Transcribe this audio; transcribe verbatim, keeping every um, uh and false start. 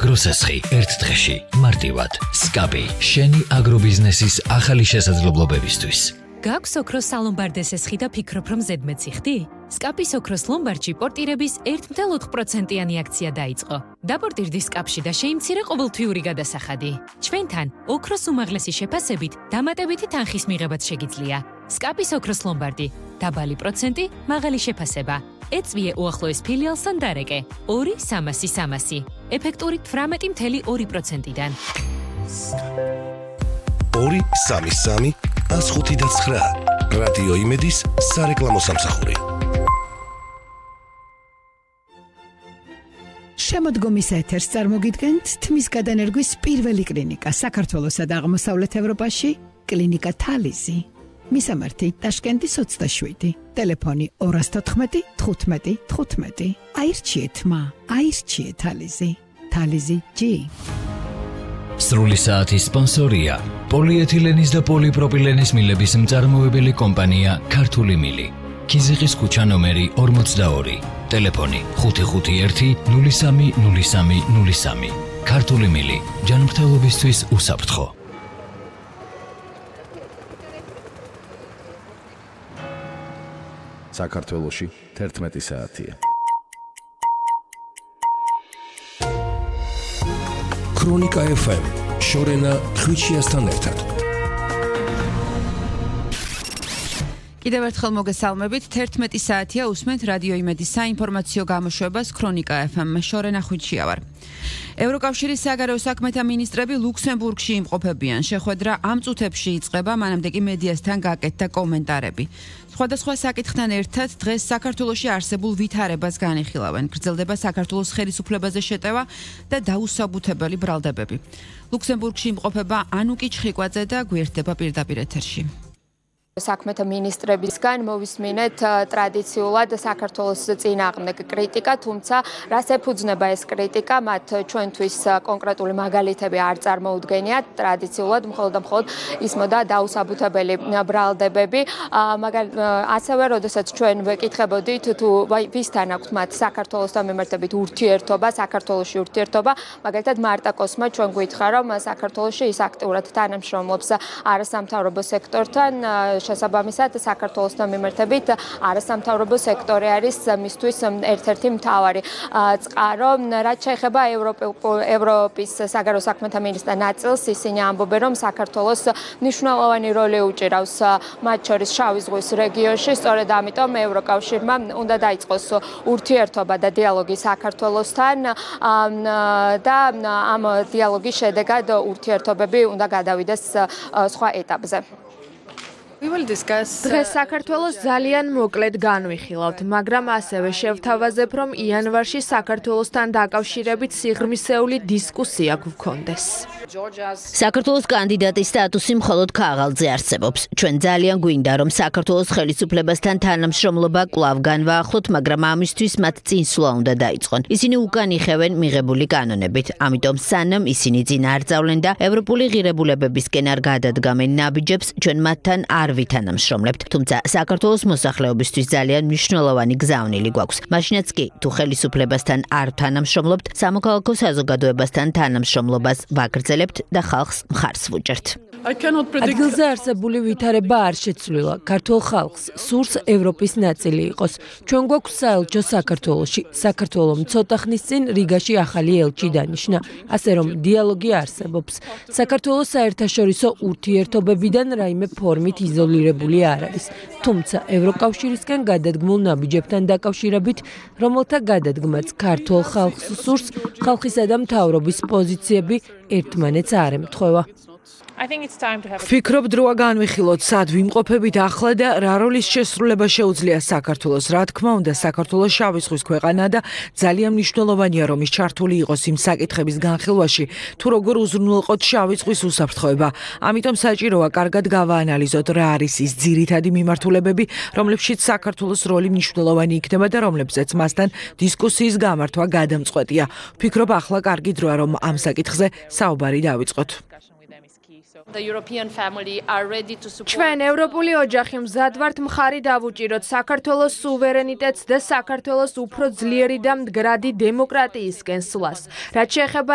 აგროსესხი ერთ დღეში მარტივად სკაპი შენი აგრობიზნესის ახალი შესაძლებლობებისთვის. გაქვს ოქროს სალომბარდეს ესხი და ფიქრობ რომ ზედმეტი ხდი? სკაპის ოქროს ლომბარდში პორტირების ერთ ათეული ოთხ პროცენტიანი აქცია დაიწყო. დაპორტირდი სკაპში და შეიმცირე ყოველთვიური გადასახადი. ჩვენთან ოქროს უმაღლესი შეფასებით დამატებითი თანხის მიღებაც შეგიძლია. სკაპის ოქროს ლომბარდი, დაბალი პროცენტი, მაღალი შეფასება. ეწვიე უახლოეს ფილიალსთან დარეკე. ორი სამასი სამასი. ეფექტური თვრამეტი მცდე ორი პროცენტიდან. ორი სამი სამი ას ხუთი და ცხრა. რადიო იმედის სარეკლამო სამსახური. შემოდგომის ეთერს წარმოგიდგენთ თმის გადანერგვის პირველი კლინიკა საქართველოსა და აღმოსავლეთ ევროპაში, კლინიკა თალიზი. მისამართი ტაშკენტის ოცდაშვიდი, ტელეფონი ორას თოთხმეტი თხუთმეტი თხუთმეტი. აირჩიეთ მა, აირჩიეთ თალიზი. თალიზი ჯი. სრული საათის სპონსორია პოლიეთილენის და პოლიპროპილენის მილების მწარმოებელი კომპანია ქართული მილი. ქიზიყის ქუჩა ნომერი ორმოცდაორი. ტელეფონი ხუთი ხუთი ერთი ნული სამი ნული სამი ნული სამი. ქართული მილი ჯანმრთელობისთვის უსაფრთხო. საქართველოში თერთმეტი საათია. ქრონიკა ეფ ემ შორენა ხვიჩიასთან ერთად. კიდევ ერთხელ მოგესალმებით. თერთმეტი საათია უსმენთ რადიო იმედის საინფორმაციო გამოშვებას ქრონიკა ეფ ემ შორენა ხვიჩია ვარ. ევროკავშირის საგარეო საქმეთა მინისტრები ლუქსემბურგში იმყოფებიან. შეხვედრა ამ წუთებში იწყება, მანამდე კი მედიასთან გაკეთდა კომენტარები. სხვადასხვა საკითხთან ერთად დღეს საქართველოში არსებულ ვითარებას განიხილავენ. გრძელდება საქართველოს ხელისუფლებაზე შეტევა და დაუსაბუთებელი ბრალდებები. ლუქსემბურგში იმყოფება ანუკი ჩხიკვაძე და გვერდება პირდაპირ ეთერში. საქმეთა მინისტრებისგან მოვისმინეთ ტრადიციულად საქართველოს წინააღმდეგ კრიტიკა, თუმცა რას ეფუძნება ეს კრიტიკა, მათ ჩვენთვის კონკრეტული მაგალითები არ წარმოუდგენიათ. ტრადიციულად მხოლოდ და მხოლოდ ისმოდა დაუსაბუთებელი ბრალდებები. ასევე, როდესაც ჩვენ ვეკითხებოდით თუ ვისთან აქვთ მათ საქართველოსთან მიმართებით ურთიერთობა, საქართველოში ურთიერთობა, მაგალითად მარტაკოსმა ჩვენ გვითხრა, რომ საქართველოში ის აქტიურად თანამშრომლობს არასამთავრობო სექტორთან. შესაბამისად საქართველოსთან მიმართებით არასამთავრობო სექტორი არის მისთვის ერთ-ერთი მთავარი წყარო. რაც შეეხება ევროპის საგარეო საქმეთა მინისტრთა ნაწილს, ისინი ამბობენ, რომ საქართველოს მნიშვნელოვანი როლი უჭირავს მათ შორის შავი ზღვის რეგიონში. სწორედ ამიტომ ევროკავშირმა უნდა დაიწყოს ურთიერთობა და დიალოგი საქართველოსთან და ამ დიალოგის შედეგად ურთიერთობები უნდა გადავიდეს სხვა ეტაპზე. დღეს საქართველოს ძალიან მოკლედ განვიხილავთ, მაგრამ ასევე შევთავაზებ, რომ იანვარში საქართველოსთან დაკავშირებით სიღრმისეული დისკუსია გვქონდეს. საქართველოს კანდიდატის სტატუსი მხოლოდ ქაღალდზე არსებობს. ჩვენ ძალიან გვინდა, რომ საქართველოს ხელისუფლებასთან თანამშრომლობა კვლავ განვაახლოთ, მაგრამ ამისთვის მათ წინსვლა უნდა დაიწყონ. ისინი უკან იხევენ მიღებული კანონებით, ამიტომ სანამ ისინი წინ არ წავლენ და ევროპული ღირებულებებისკენ არ გადადგამენ ნაბიჯებს, ჩვენ მათთან არ ვითანამშრომლებთ, თუმცა საქართველოს მოსახლეობისთვის ძალიან მნიშვნელოვანი გზავნილი გვაქვს. მაშინაც კი, თუ ხელისუფლებასთან არ თანამშრომლობთ, სამოქალაქო საზოგადოებასთან თანამშრომლობას ვაგრძელებთ და ხალხს მხარს ვუჭერთ. ადგილზე არსებული ვითარება არ შეცვლილა. ქართულ ხალხს სურს ევროპის ნაწილი იყოს. ჩვენ გვაქვს საელჩო საქართველოში. საქართველომ ცოტა ხნის წინ რიგაში ახალი ელჩი დანიშნა, ასე რომ დიალოგი არსებობს. საქართველოს საერთაშორისო ურთიერთობებიდან რაიმე ფორმით იზოლირებული არ არის. თუმცა ევროკავშირისგან გადადგმულ ნაბიჯებთან დაკავშირებით, რომელთა გადადგმაც ქართულ ხალხს სურს, ხალხისა და მთავრობის პოზიციები ერთმანეთს არ ემთხვევა. ვფიქრობ, დროა განვიხილოთ, სად ვიმყოფებით ახლა და რა როლის შესრულება შეუძლია საქართველოს. რა თქმა უნდა, საქართველოს შავი ზღვის ქვეყანა და ძალიან მნიშვნელოვანია, რომ ის ჩართული იყოს იმ საკითხების განხილვაში, თუ როგორ უზრუნველყოთ შავი ზღვის უსაფრთხოება. ამიტომ საჭიროა კარგად გავაანალიზოთ, რა არის ის ძირითადი მიმართულებები, რომლებშიც საქართველოს როლი მნიშვნელოვანი იქნება და რომლებზეც მასთან დისკუსიის გამართვა გადამწყვეტია. ვფიქრობ, ახლა კარგი დროა, რომ ამ საკითხზე საუბარი დავიწყოთ. ჩვენ ევროპული ოჯახი მზად ვართ მხარი დავუჭიროთ საქართველოს სუვერენიტეტს და საქართველოს უფრო ძლიერი და მდგრადი დემოკრატიისკენ სვლას. რაც შეეხება